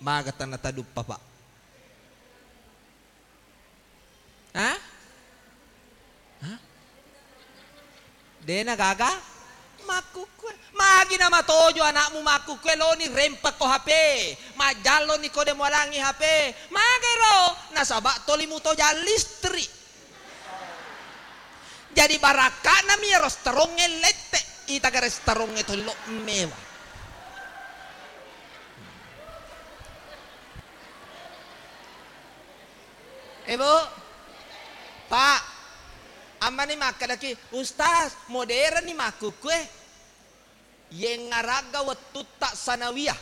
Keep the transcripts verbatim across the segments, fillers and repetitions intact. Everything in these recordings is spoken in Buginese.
Maga tanna taduppa, Pak? Hah? Hah? Dena gaga? Makkukkue. Magi namatojo anakmu makkukkue, loni rempekko H P. Majalloni ko de mualangi H P. Magai ro? Nasaba toli mutojang listrik. Jadi barakka'nami iyaro stroke lette, ita gare stroke tollo mewa. Eh, Bu, Pak, ammani makkedaki, "Ustaz, modern ni makkukkue." Yengngaragga wettutta sanawiyah,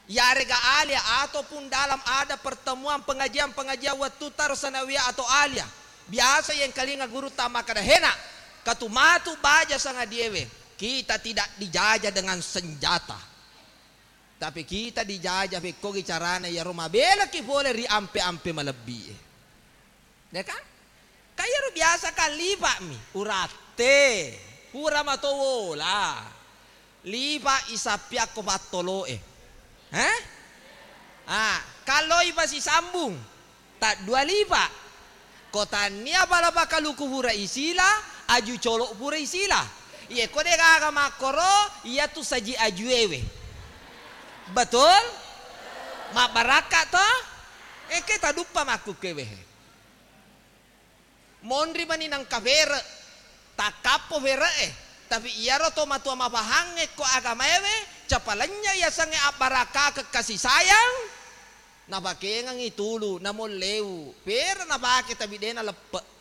yarega alia, ataupun dalam ada pertemuan pengajian-pengajian wettutta ro sanawiyah atau alia, biasa yengkalinga gurutta makkeda, "Hena, katumatu baja sangadiewe, kita tidak dijajah dengan senjata, tapi kita dijajah pekkogi carana iyaro mabelaki pole ri ampe-ampe malebbi'e." Ya kan? Ka iyaro biasa kan lipa'mi, uratte, pura matowola. Lipa'i sappiakko pattolo'e. Heh? Ah, kalloi pasisambung, taddua lipa'. Ko tannia pala pakaluku pura isila, aju colo' pura isila. Iye ko de gaga makkoro, iyatu saji ajuewe. Betul? Mabbarakka to? Eke taduppa makkukkewe. Monri mani nengka fere', takkappo fere'e. Tapi iyaro to matua mapahangnge ko agamaewe, capalenya yasengnge abbarakakeng kasih sayang, napakengengngi tulu, namolleu, fere' napake tapi dena leppe'.